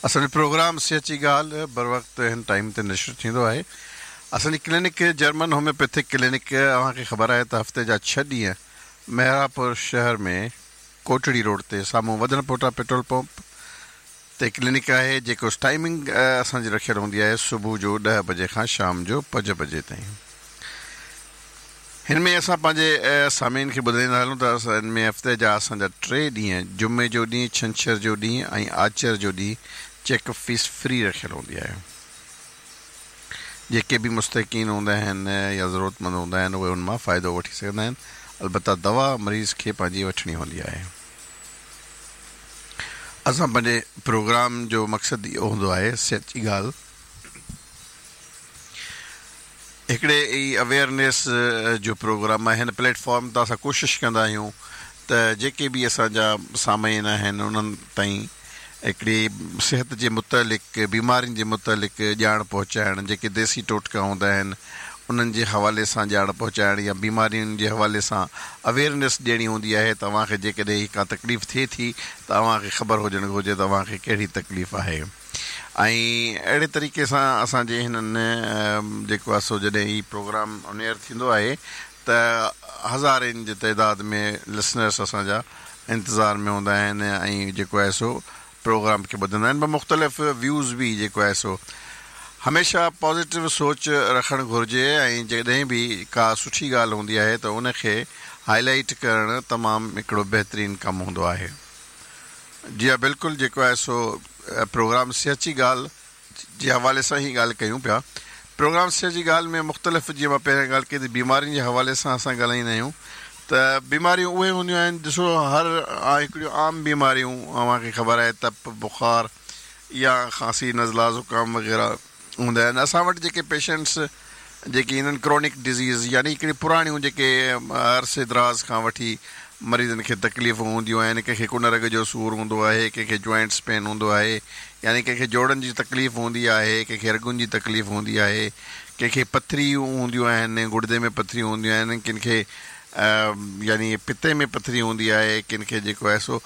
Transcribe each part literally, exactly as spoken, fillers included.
असांजो प्रोग्राम सिहत जी ॻाल्हि बर वक़्तु हिन टाइम ते नशर थींदो आहे। असांजी क्लिनिक जर्मन होम्योपैथिक क्लिनिक अव्हांखे ख़बर आहे त हफ़्ते जा छह ॾींहं मेहरापुर शहर में कोटड़ी रोड ते साम्हूं वधण पोटा पेट्रोल पंप ते क्लिनिक आहे, जेको टाइमिंग असांजी रखियल हूंदी आहे सुबुह जो ॾह बजे खां शाम जो पंज बजे ताईं। हिन में असां पंहिंजे सामीन खे ॿुधाईंदा हलूं त असां हिन में हफ़्ते जा असांजा टे ॾींहं, जुमे जो ॾींहुं, छंछर जो ॾींहुं ऐं आचर जो ॾींहुं चेकअप फीस फ्री रखियल हूंदी आहे। जेके बि मुस्तक़ीन हूंदा आहिनि या ज़रूरतमंद हूंदा आहिनि उहे उन मां फ़ाइदो वठी सघंदा आहिनि। अलबत्ता दवा मरीज़ खे पंहिंजी वठणी हूंदी आहे। असां पंहिंजे प्रोग्राम जो मक़सदु इहो हूंदो आहे सिहत जी ॻाल्हि हिकिड़े ई अवेयरनेस जो प्रोग्राम आहे। हिन प्लेटफॉर्म तां असां कोशिशि कंदा आहियूं त जेके बि असांजा सामीन आहिनि उन्हनि ताईं हिकिड़ी सिहत जे मुतालिक़, बीमारियुनि जे मुतालिक़ ॼाण पहुचाइण, जेके देसी टोटका हूंदा आहिनि उन्हनि जे हवाले सां ॼाण पहुचाइण या बीमारियुनि जे हवाले सां अवेयरनेस ॾियणी हूंदी आहे। तव्हांखे जेकॾहिं का तकलीफ़ थिए थी त तव्हांखे ख़बर हुजणु घुरिजे तव्हांखे कहिड़ी तकलीफ़ आहे। ऐं अहिड़े तरीक़े सां असांजे हिननि जेको आहे सो जॾहिं हीउ प्रोग्राम ऑन एयर थींदो आहे त हज़ारनि जे तादाद में लिसनर्स असांजा इंतज़ार में हूंदा आहिनि ऐं जेको आहे सो प्रोग्राम खे ॿुधंदा आहिनि। पर मुख़्तलिफ़ व्यूज़ बि जेको आहे सो हमेशह पॉज़िटिव सोच रखणु घुरिजे ऐं जॾहिं बि का सुठी ॻाल्हि हूंदी आहे त उनखे हाईलाइट करणु तमामु हिकिड़ो बहितरीनु कमु हूंदो आहे। जी हा, बिल्कुलु जेको आहे सो प्रोग्राम सिहत जी ॻाल्हि जे हवाले सां ई ॻाल्हि कयूं पिया। प्रोग्राम सिहत जी ॻाल्हि में मुख़्तलिफ़ जीअं मां पहिरियों ॻाल्हि कई त बीमारियुनि जे हवाले सां असां ॻाल्हाईंदा आहियूं त बीमारियूं उहे हूंदियूं आहिनि, ॾिसो हर हिकिड़ियूं आम बीमारियूं तव्हांखे ख़बर आहे, तप, बुखार या खांसी, नज़ला, ज़ुकाम वग़ैरह हूंदा आहिनि। असां वटि जेके पेशेंट्स जेके ईंदा आहिनि क्रॉनिक डिज़ीज़ यानी हिकिड़ी पुराणियूं जेके अरसे दराज़ खां वठी मरीज़नि खे तकलीफ़ूं हूंदियूं आहिनि, कंहिंखे कुनरग जो सूर हूंदो आहे, कंहिंखे जॉइंट्स पेन हूंदो आहे, यानी कंहिंखे जोड़नि जी तकलीफ़ हूंदी आहे, कंहिंखे रगुनि जी तकलीफ़ हूंदी आहे, कंहिंखे पथरियूं हूंदियूं आहिनि, गुर्दे में पथरियूं हूंदियूं आहिनि, किन खे यानी पित्ते में पथरी हूंदी आहे, किन खे जेको आहे सो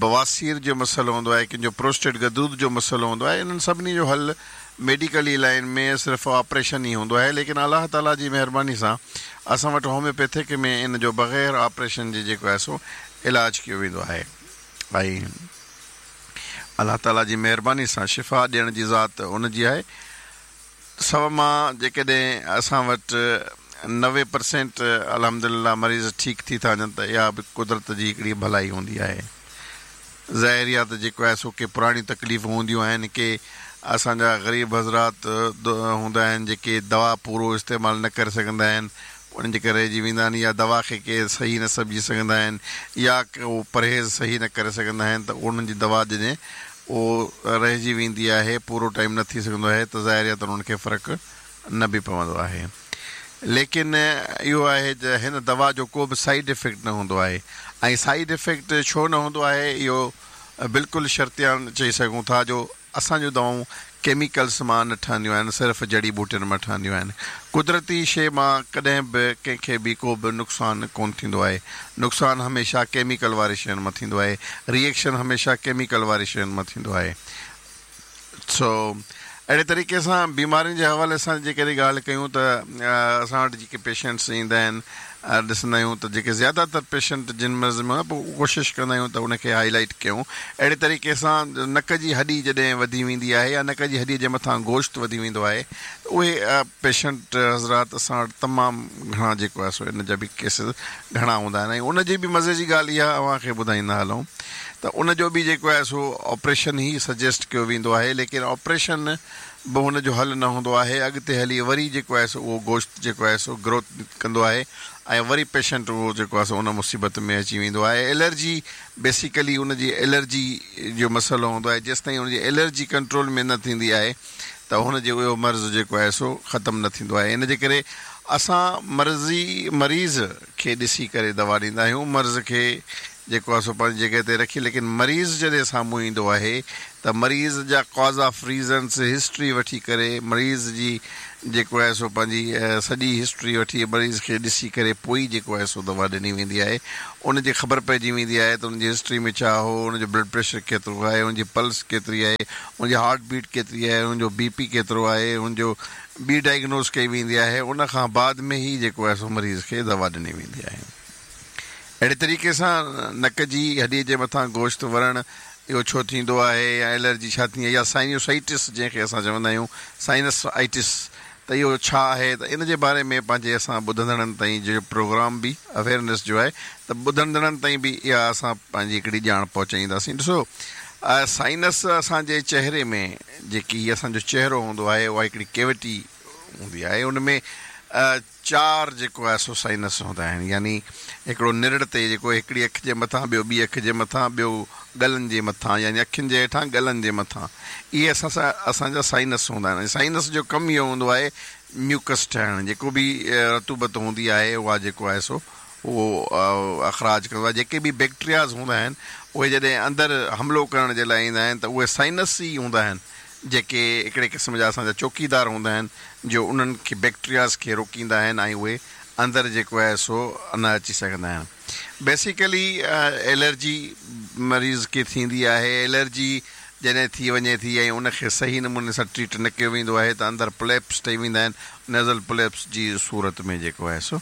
बवासीर जो मसइलो हूंदो आहे, किन जो प्रोस्टेट गदूद जो मसइलो हूंदो आहे। इन्हनि सभिनी जो हल मेडिकली लाइन में सिर्फ़ु ऑपरेशन ई हूंदो आहे, लेकिन अलाह ताला जी महिरबानी सां असां वटि होम्योपैथिक में इन जो बग़ैर ऑपरेशन जे जेको आहे सो इलाज कयो वेंदो आहे। ऐं अलाह ताला जी महिरबानी सां शिफ़ा ॾियण जी ज़ात उन जी आहे। सव मां जेकॾहिं असां वटि नवे परसेंट अल्हम्दुलिल्लाह मरीज़ ठीकु थी था वञनि त इहा बि कुदरत जी हिकिड़ी भलाई हूंदी आहे। ज़ाहिर आहे त जेको आहे सो के पुराणियूं तकलीफ़ूं हूंदियूं आहिनि, के असांजा ग़रीब हज़रात हूंदा आहिनि जेके दवा पूरो इस्तेमालु न करे सघंदा आहिनि, उन्हनि जे करे रहिजी वेंदा आहिनि या दवा खे के सही न सम्झी सघंदा आहिनि या उहो परहेज़ सही न करे सघंदा आहिनि त उन्हनि जी दवा जॾहिं उहो रहिजी वेंदी आहे, पूरो टाइम न थी सघंदो आहे त ज़ाहिर आहे त उन्हनि खे फ़र्क़ु न बि पवंदो आहे। लेकिन इहो आहे त हिन दवा जो को बि साइड इफ़ेक्ट न हूंदो आहे। ऐं साइड इफ़ेक्ट छो न हूंदो आहे इहो बिल्कुलु शर्तियान चई सघूं था जो असांजूं दवाऊं केमिकल्स मां न ठहंदियूं आहिनि, सिर्फ़ु जड़ी बूटियुनि मां ठहंदियूं आहिनि। कुदरती शइ मां कॾहिं बि कंहिंखे बि को बि नुक़सानु कोन थींदो आहे। नुक़सानु हमेशह केमिकल वारी शयुनि मां थींदो आहे, रिएक्शन हमेशह केमिकल वारी शयुनि मां थींदो आहे। सो अहिड़े तरीक़े सां बीमारियुनि जे हवाले सां जेकॾहिं ॻाल्हि कयूं त असां वटि जेके पेशेंट्स ईंदा आहिनि ॾिसंदा आहियूं त जेके ज़्यादा तर पेशेंट जिन मर्ज़ में पोइ कोशिशि कंदा आहियूं त उनखे हाईलाइट कयूं। अहिड़े तरीक़े सां नक जी हॾी जॾहिं वधी वेंदी आहे या नक जी हॾीअ जे मथां गोश्त वधी वेंदो आहे त उहे पेशेंट हज़रात असां वटि तमामु घणा जेको आहे सो इन जा बि केसिस घणा हूंदा आहिनि। ऐं उनजी बि मज़े जी ॻाल्हि इहा तव्हांखे ॿुधाईंदा हलूं त उनजो बि जेको आहे सो ऑपरेशन ई सजेस्ट कयो वेंदो आहे, लेकिन ऑपरेशन बि हुनजो हल न हूंदो आहे। अॻिते हली वरी जेको आहे सो उहो गोश्त जेको आहे सो ग्रोथ कंदो आहे ऐं वरी पेशेंट उहो जेको आहे सो उन मुसीबत में अची वेंदो आहे। एलर्जी बेसिकली उनजी एलर्जी जो मसइलो हूंदो आहे, जेसि ताईं हुनजी एलर्जी कंट्रोल में न थींदी आहे त हुनजो इहो मर्ज़ जेको आहे सो ख़तमु न थींदो आहे। इन जे करे असां मर्ज़ी मरीज़ खे ॾिसी करे दवा ॾींदा आहियूं, मर्ज़ खे جيڪو آهي سو پنهنجي جڳهه تي رکي، ليڪن مريض جڏهن سامهون ايندو آهي ته مريض جا ڪاز آف ريزنس هسٽري وٺي ڪري، مريض جي جيڪو آهي سو پنهنجي سڄي هسٽري وٺي مريض کي ڏسي ڪري پوءِ ئي جيڪو آهي سو دوا ڏني ويندي آهي. ان جي خبر پئجي ويندي آهي ته ان جي هسٽري ۾ ڇا هو، ان جو بلڊ پريشر ڪيترو آهي، ان جي پلس ڪيتري آهي، ان جي هارٽ بيٽ ڪيتري آهي، ان جو بي پي ڪيترو آهي، ان جو ٻي ڊائگنوز ڪئي ويندي آهي. ان کان بعد ۾ ئي جيڪو آهي سو مريض کي دوا ڏني ويندي آهي. اهڙي طريقي سان نڪ جي هڏي جي مٿان گوشت ورڻ اهو ڇو ٿيندو آهي يا الرجي ڇا ٿيندي آهي يا سائنوسائٽس جنهن کي اسان چوندا آهيون سائنسائٽس ته اهو ڇا آهي، ته ان جي باري ۾ پنهنجي اسان ٻڌندڙن تائين جو پروگرام به اويئرنيس جو آهي ته ٻڌندڙن تائين به اها اسان پنهنجي هڪڙي ڄاڻ پهچائينداسين. ڏسو سائنس اسان جي چهري ۾ جيڪي اسان جو چهرو هوندو آهي اها هڪڙي ڪيوٽي هوندي آهي، ان ۾ چار جيڪو آهي سو سائنس هوندا آهن، يعني هڪڙو نرڙ تي جيڪو هڪڙي اک جي مٿان، ٻيو ٻي اک جي مٿان، ٻيو ڳلن جي مٿان، يعني اکين جي هيٺان ڳلن جي مٿان، اهي اسان سان اسان جا سائنس هوندا آهن. سائنس جو ڪم اهو هوندو آهي ميوڪس ٺاهڻ، جيڪو به رطوبت هوندي آهي اها جيڪو آهي سو اهو اخراج ڪندو آهي. جيڪي به بيڪٽيرياز هوندا آهن اهي جڏهن اندر حملو ڪرڻ جي لاءِ ايندا آهن ته اهي سائنس ئي هوندا آهن جيڪي هڪڙي قسم جا اسان جا چوڪيدار هوندا آهن جو انهن کي بيڪٽيرياز کي روڪيندا آهن ۽ اهي اندر جيڪو آهي سو نه اچي سگهندا آهن. بيسڪلي الرجي مريض کي ٿيندي آهي. الرجي جڏهن ٿي وڃي ٿي ۽ ان کي صحيح نموني سان ٽريٽ نه ڪيو ويندو آهي ته اندر پليپس ٺهي ويندا آهن، نيزل پليپس جي صورت ۾ جيڪو آهي سو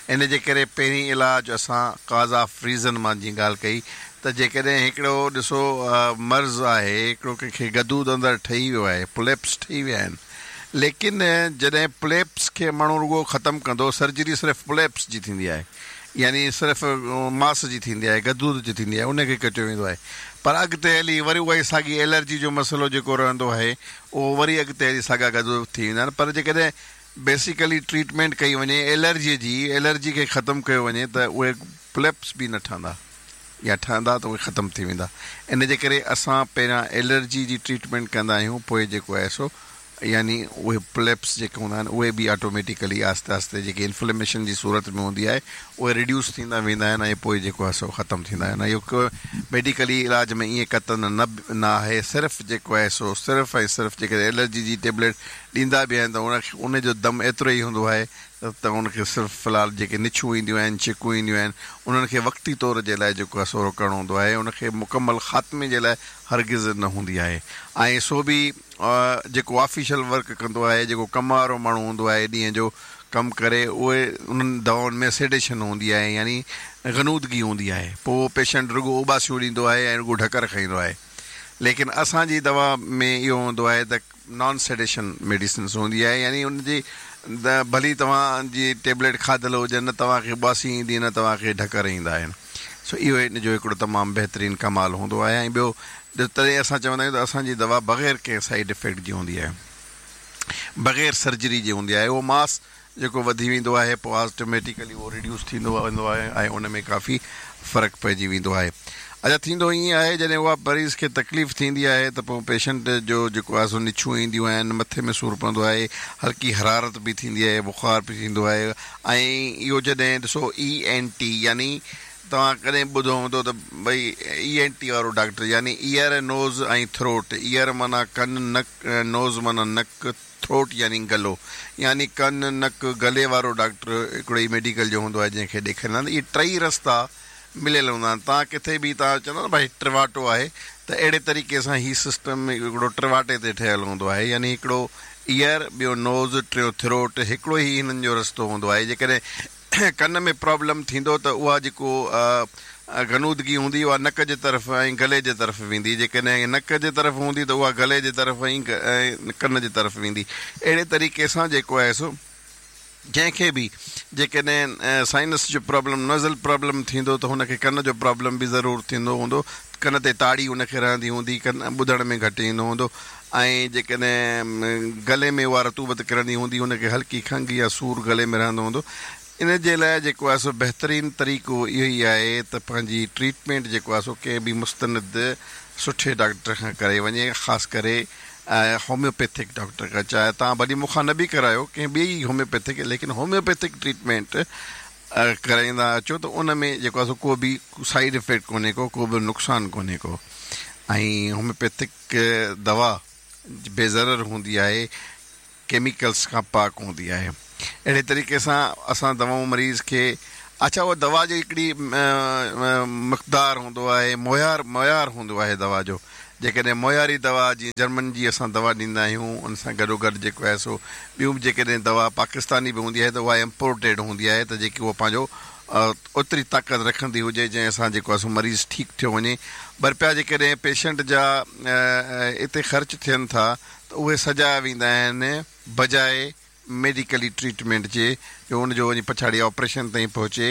ان جي ڪري پهرين علاج اسان ڪاز آف ريزن مان جيئن ڳالهه ڪئي ته جيڪڏهن هڪڙو ڏسو مرض آهي، هڪڙو ڪنهن کي گدود اندر ٺهي ويو آهي، پليپس ٺهي ويا آهن، ليڪن جڏهن پليپس کي ماڻهو رڳو ختم ڪندو، سرجري صرف پليپس جي ٿيندي آهي، يعني صرف ماس جي ٿيندي آهي، گدود جي ٿيندي آهي، ان کي ڪٽيو ويندو آهي، پر اڳتي هلي وري اها ئي ساڳي الرجي جو مسئلو جيڪو رهندو آهي اهو وري اڳتي هلي ساڳا گدود ٿي ويندا آهن. پر جيڪڏهن بيسڪلي ٽريٽمينٽ ڪئي وڃي الرجيءَ جي، الرجي کي ختم ڪيو وڃي ته اهي پليپس به نه ٺهندا يا ٺهندا ته اهي ختم ٿي ويندا. ان جي ڪري اسان پهريان الرجي جي ٽريٽمينٽ ڪندا آهيون، پوءِ جيڪو آهي سو يعني اهي پليپس جيڪي هوندا آهن اهي به آٽوميٽڪلي آهستي آهستي جيڪي انفليميشن جي صورت ۾ هوندي آهي اهي ريڊيوس ٿيندا ويندا آهن ۽ پوءِ جيڪو آهي سو ختم ٿيندا آهن. اهو ميڊيڪلي علاج ۾ ائين قطعن نه نه آهي. صرف جيڪو آهي سو صرف ۽ صرف جيڪڏهن الرجي جي ٽيبليٽ ڏيندا به آهن ته ان کي ان جو دم ايترو ئي هوندو آهي ته ان کي صرف في الحال جيڪي نڇون اينديون آهن، ڇڪون اينديون آهن، انهن کي وقتي طور جي لاءِ جيڪو آهي سو روڪڻو هوندو آهي، ان کي مڪمل خاتمي جي لاءِ هرگز نه هوندي آهي. ۽ سو به جيڪو آفيشل ورڪ ڪندو آهي، جيڪو ڪم وارو ماڻهو هوندو آهي، ڏينهن جو ڪم ڪري، اهي انهن دوائن ۾ سيڊيشن هوندي آهي، يعني غنودگي هوندي آهي، پوءِ پيشنٽ رڳو اٻاسيون ڏيندو آهي ۽ رڳو ڍڪر کائيندو آهي. ليڪن اسان جي دوا ۾ اهو هوندو آهي ته نان سيڊيشن ميڊيسنس هوندي آهي، يعني ان جي ڀلي توهان جي ٽيبليٽ کاڌل هجي، نه توهان کي اٻاسي ايندي نه توهان کي ڍڪر ايندا آهن. سو اهو هن جو هڪڙو تمام بهترين ڪمال هوندو آهي. ۽ ٻيو تڏهن اسان چوندا آهيون ته اسان جي دوا بغير ڪنهن سائيڊ افيڪٽ جي هوندي آهي، بغير سرجري جي هوندي آهي. اهو ماس جيڪو وڌي ويندو آهي پوءِ آٽوميٽڪلي اهو ريڊيوس ٿيندو ويندو آهي ۽ ان ۾ ڪافي فرق پئجي ويندو آهي. اڇا ٿيندو ائين آهي جڏهن اها مريض کي تڪليف ٿيندي آهي ته پوءِ پيشنٽ جو جيڪو آهي سو نڇون اينديون آهن، مٿي ۾ سور پوندو آهي، هلڪي حرارت به ٿيندي آهي، بخار به ٿيندو آهي. ۽ اهو جڏهن ڏسو اي اين ٽي، يعني توهان ڪڏهن ٻڌو هوندو ته ڀئي اي اين ٽي وارو ڊاڪٽر، يعني ايئر نوز ۽ ٿروٽ، ايئر معنيٰ ڪن، نڪ، نوز معنيٰ نڪ، ٿروٽ يعني گلو، يعني ڪن نڪ گلي وارو ڊاڪٽر هڪڙو ئي ميڊيڪل جو هوندو آهي جنهن کي ڏيکاريندا آهن. اهي ٽئي رستا مليل هوندا آهن. توهان ڪٿي به توهان چوندا نه ڀئي ٽواٽو آهي، ته اهڙي طريقي سان هيءُ سسٽم هڪڙو ٽواٽي تي ٺهيل هوندو آهي، يعني هڪڙو ايئر، ٻيو نوز، ٽيون ٿروٽ، هڪڙو ئي هنن جو رستو هوندو آهي. جيڪڏهن ڪن ۾ پرابلم ٿيندو ته اها جيڪو غنودگي هوندي اها نڪ جي طرف ۽ گلي جي طرف ويندي، جيڪڏهن نڪ جي طرف هوندي ته اها گلي جي طرف ۽ ڪن جي طرف ويندي. اهڙي طريقي سان جيڪو آهي سو جنهن کي به جيڪڏهن سائنس جو پرابلم، نزل پرابلم ٿيندو ته هن کي ڪن جو پرابلم به ضرور ٿيندو هوندو، ڪن تي تاڙي هن کي رهندي هوندي، ڪن ٻڌڻ ۾ گهٽ ايندو هوندو. ۽ جيڪڏهن گلي ۾ اها رطوبت ڪرندي هوندي هن کي هلڪي کنگهه يا سور گلي ۾ رهندو هوندو. ان جي لاءِ جيڪو آهي سو بهترين طريقو اهو ئي آهي ته پنهنجي ٽريٽمينٽ جيڪو آهي سو ڪنهن به مستند سٺي ڊاڪٽر کان ڪرائي وڃي، خاص ڪري هوميوپيٿڪ ڊاڪٽر کان. چاهي توهان ڀلي مون کان نه به ڪرايو، ڪنهن ٻئي هوميوپيٿڪ، ليڪن هوميوپيٿڪ ٽريٽمينٽ ڪرائيندا اچو ته ان ۾ جيڪو آهي سو ڪو به سائيڊ افيڪٽ ڪونهي ڪو ڪو به نقصان ڪونهي ڪو ۽ هوميوپيٿڪ دوا بيضرر هوندي آهي، ڪيميڪلس کان پاڪ هوندي آهي. اهڙي طريقي سان اسان دوائون مريض کي اڇا اها دوا جي هڪڙي مقدار هوندو آهي، معيار معيار هوندو آهي دوا جو. جيڪڏهن معياري دوا جيئن جرمن جي اسان دوا ڏيندا آهيون ان سان گڏو گڏ جيڪو آهي سو ٻيون به جيڪڏهن دوا پاڪستاني به هوندي آهي ته اها امپورٽيڊ هوندي آهي ته جيڪي اها پنهنجو اوتري طاقت رکندي هجي جنهن سان جيڪو آهي سو مريض ٺيڪ ٿيو وڃي. ٻه رپيا جيڪڏهن پيشنٽ جا اتي خرچ ٿين ٿا ته اهي سجايا ويندا آهن بجاء ميڊيڪلي ٽريٽمينٽ جي جو ان جو وڃي پڇاڙي آپريشن تائين پهچي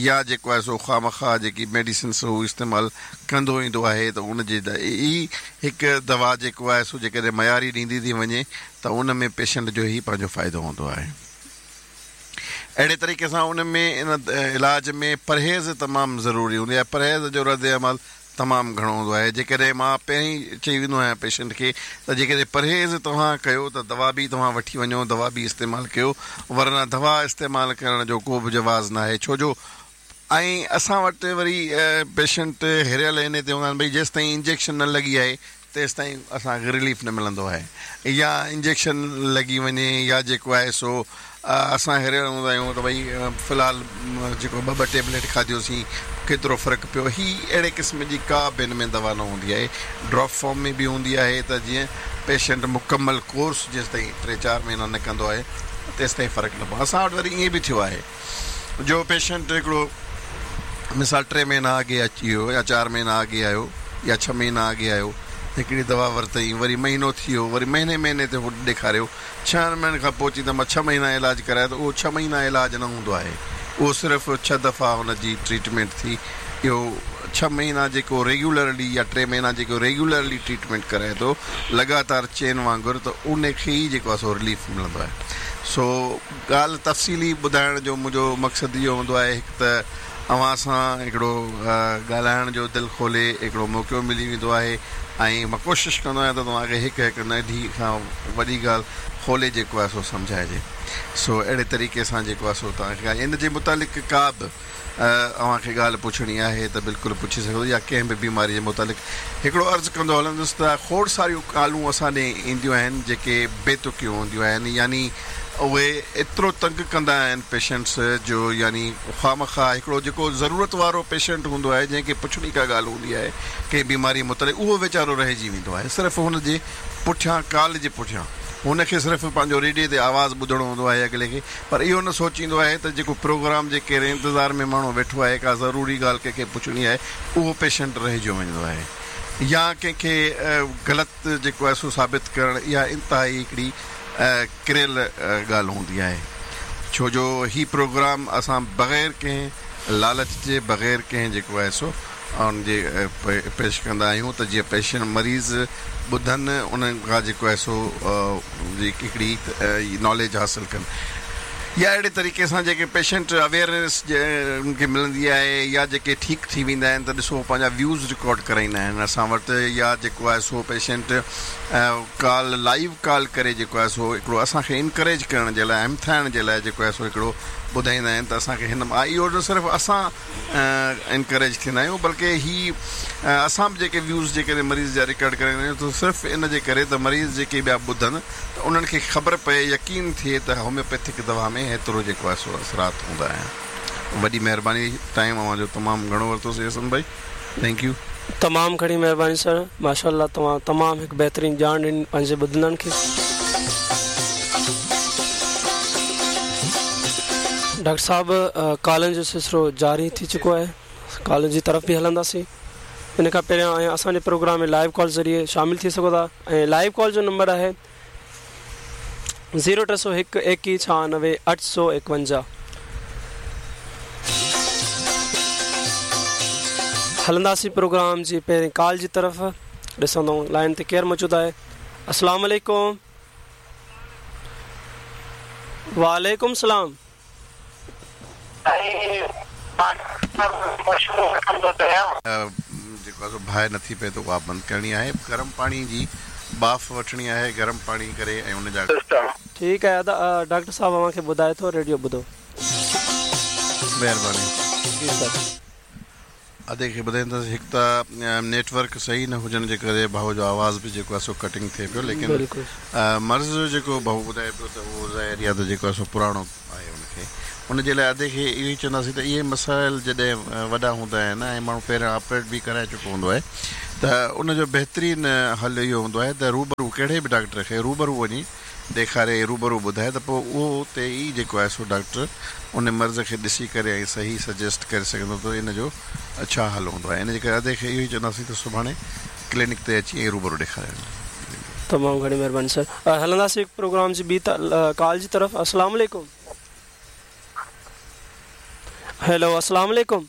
يا جيڪو آهي سو خوامخواه جيڪي ميڊيسنس هو استعمال ڪندو ايندو آهي ته ان جي ئي هڪ دوا جيڪو آهي سو جيڪڏهن معياري ڏيندي ٿي وڃي ته ان ۾ پيشنٽ جو ئي پنهنجو فائدو هوندو آهي. اهڙي طريقي سان ان ۾ ان علاج ۾ پرهيز تمام ضروري هوندي آهي. پرهيز جو رد عمل تمام گهڻو هوندو آهي. جيڪڏهن مان پهرين چئي ويندو آهيان پيشنٽ کي ته جيڪڏهن پرهيز توهان ڪيو ته دوا به توهان وٺي وڃو، دوا به استعمال ڪيو، ورنه دوا استعمال ڪرڻ جو ڪو به جواز ناهي. ڇو جو ۽ اسان وٽ وري پيشنٽ هريل انهي تي هوندا آهن ڀئي جيستائين انجيڪشن نه لڳي آهي تيستائين اسان کي رليف نه ملندو آهي يا انجيڪشن لڳي وڃي يا جيڪو آهي سو اسان هريل هوندا آهيون ته ڀئي في الحال جيڪو ٻه ٻه ٽيبليٽ کاڌيوسين ڪيترو فرق پيو. هي اهڙي قسم جي ڪا به هن ۾ دوا نه هوندي آهي. ڊراپ فارم ۾ به هوندي آهي ته جيئن پيشنٽ مڪمل ڪورس جيستائين ٽي چار مهينا نه ڪندو آهي تيستائين فرق نه پوندو. اسان وٽ وري ائين به ٿيو آهي جو پيشنٽ هڪڙو مثال ٽي مهينا اڳي اچي ويو يا چار مهينا اڳي آيو يا ڇهه مهينا اڳي آيو، هڪڙي دوا ورتائين، وري مهينو ٿي ويو، وري مهيني مهيني تي هو ڏيکاريو، ڇهن مهينن کان پوء چي ته مان ڇهه مهينا علاج ڪرايو ته اهو ڇهه مهينا علاج نه هوندو آهي، اهو صرف ڇهه دفعا هن جي ٽريٽمينٽ ٿي. اهو ڇهه مهينا جيڪو ريگيولرلي يا ٽي مهينا جيڪو ريگيولرلي ٽريٽمينٽ ڪرائي ٿو لڳاتار چين وانگر ته ان کي ئي جيڪو آهي سو رليف ملندو آهي. سو ڳالهه تفصيلي ٻڌائڻ جو منهنجو مقصد اهو هوندو آهي هڪ ته اوهان سان هڪڙو ڳالهائڻ جو دل کولي هڪڙو موقعو ملي ويندو آهي ۽ مان ڪوشش ڪندو آهيان ته توهان کي هڪ هڪ ننڍي کان وڏي ڳالهه کولي جيڪو آهي سو سمجهائجي. سو اهڙي طريقي سان جيڪو آهي سو توهان کي ان جي متعلق ڪا به اوهان کي ڳالهه پڇڻي آهي ته بلڪل پڇي سگهو يا ڪنهن به بيماري جي متعلق. هڪڙو عرض ڪندو هلندس ته کوڙ ساريون ڪالون اسان ڏي اينديون آهن جيڪي بي تڪيون هونديون آهن، يعني اهي ايترو تنگ ڪندا آهن پيشنٽس جو يعني خوامخواه هڪڙو جيڪو ضرورت وارو پيشنٽ هوندو آهي جنهن کي پڇڻي ڪا ڳالهه هوندي آهي ڪنهن بيماري متعلق اهو ويچارو رهجي ويندو آهي صرف هن جي پٺيان ڪال جي پٺيان هن کي صرف پنهنجو ريڊيو تي آواز ٻڌڻو هوندو آهي اڳلي کي، پر اهو نه سوچيندو آهي ته جيڪو پروگرام جي ڪهڙي انتظار ۾ ماڻهو ويٺو آهي ڪا ضروري ڳالهه ڪنهن کي پڇڻي آهي اهو پيشنٽ رهجيو ويندو آهي يا ڪنهن کي غلط جيڪو آهي سو ثابت ڪرڻ اها انتهائي هڪڙي ڪريل ڳالهه هوندي آهي. ڇو جو هي پروگرام اسان بغير ڪنهن لالچ جي بغير ڪنهن جيڪو آهي سو ان جي پيش ڪندا آهيون ته جيئن پيشنٽ مريض ٻڌن انهن کان جيڪو آهي سو هڪڙي ناليج حاصل ڪن يا اهڙي طريقي سان جيڪي پيشنٽ اويئرنيس انهن کي ملندي آهي يا جيڪي ٺيڪ ٿي ويندا آهن ته ڏسو پنهنجا ويوز رڪارڊ ڪرائيندا آهن اسان وٽ يا جيڪو آهي سو پيشنٽ ڪال لائيو ڪال ڪري جيڪو آهي سو هڪڙو اسان کي انڪريج ڪرڻ جي لاء همٿائڻ جي لاء جيڪو آهي سو هڪڙو ٻڌائيندا آهن ته اسان کي هن اهو نه صرف اسان انڪريج ٿيندا آهيون بلڪه هي اسان به جيڪي ويوز جيڪڏهن مريض جا رڪارڊ ڪرائيندا آهيون ته صرف ان جي ڪري ته مريض جيڪي ٻيا ٻڌن ته انهن کي خبر پئي يقين ٿئي ته هوميوپيٿڪ دوا ۾ هيترو جيڪو آهي سو اثرات هوندا آهن. وڏي مهرباني ٽائيم اوهان جو تمام گهڻو ورتوسين حسن ڀائي thank you. تمام گهڻي مهرباني سر ماشاء الله توهان تمام هڪ بهترين ڄاڻ ڏني پنهنجي ٻڌندڙن کي. ڊاڪٽر صاحب ڪالن جو سلسلو جاري ٿي چڪو آهي ڪالن جي طرف به هلنداسين ان کان پهريان ۽ اسان جي پروگرام ۾ لائيو ڪال ذريعي شامل ٿي سگهو ٿا ۽ لائيو ڪال جو نمبر آهي زيرو ٽي سؤ هڪ ايڪيهه ڇهانوي اٺ سؤ ايڪونجاهه. هلنداسين پروگرام جي پهرين ڪال جي طرف ڏسندو لائن تي ڪير موجود آهي. السلام عليڪم. وعليڪم السلام. جيڪو آهي سو باهه نٿي پئي ته اها بند ڪرڻي آهي. گرم پاڻي جي ٻاڦ وٺڻي آهي گرم پاڻي ڪري ۽ ان جا. ٺيڪ آهي ادا ڊاڪٽر صاحب اوهان کي ٻڌائي ٿو ريڊيو ٻڌو. मेहरबानी। जी सर। अदे खे ॿुधाईंदासीं, हिकु त नेटवर्क सही न हुजण जे करे भाउ जो आवाज़ बि जेको आहे सो कटिंग थिए पियो, लेकिन मर्ज़ जेको भाउ ॿुधाए पियो त उहो ज़ाहिर आहे त जेको आहे सो पुराणो आहे। हुनखे उन जे लाइ अदे खे इहो ई चवंदासीं त इहे मसाइल जॾहिं वॾा हूंदा आहिनि ऐं माण्हू पहिरियां ऑपरेट बि कराए चुको हूंदो आहे त उन जो बहितरीन हल इहो हूंदो आहे त रूबरू कहिड़े बि डॉक्टर खे रूबरू वञी ॾेखारे, रूबरू ॿुधाए त पोइ उहो उते ई जेको आहे सो डॉक्टर उन मर्ज़ खे ॾिसी करे ऐं सही सजेस्ट करे सघंदो त इन जो छा हल हूंदो आहे। इन जे करे अदे खे इहो ई चवंदासीं त सुभाणे क्लिनिक ते अची ऐं रूबरू ॾेखारे। तमामु घणी महिरबानी सर। हलंदासीं प्रोग्राम जी ॿी कॉल जी तरफ़। अस्सलाम वालेकुम। हेलो, अस्सलाम वालेकुम।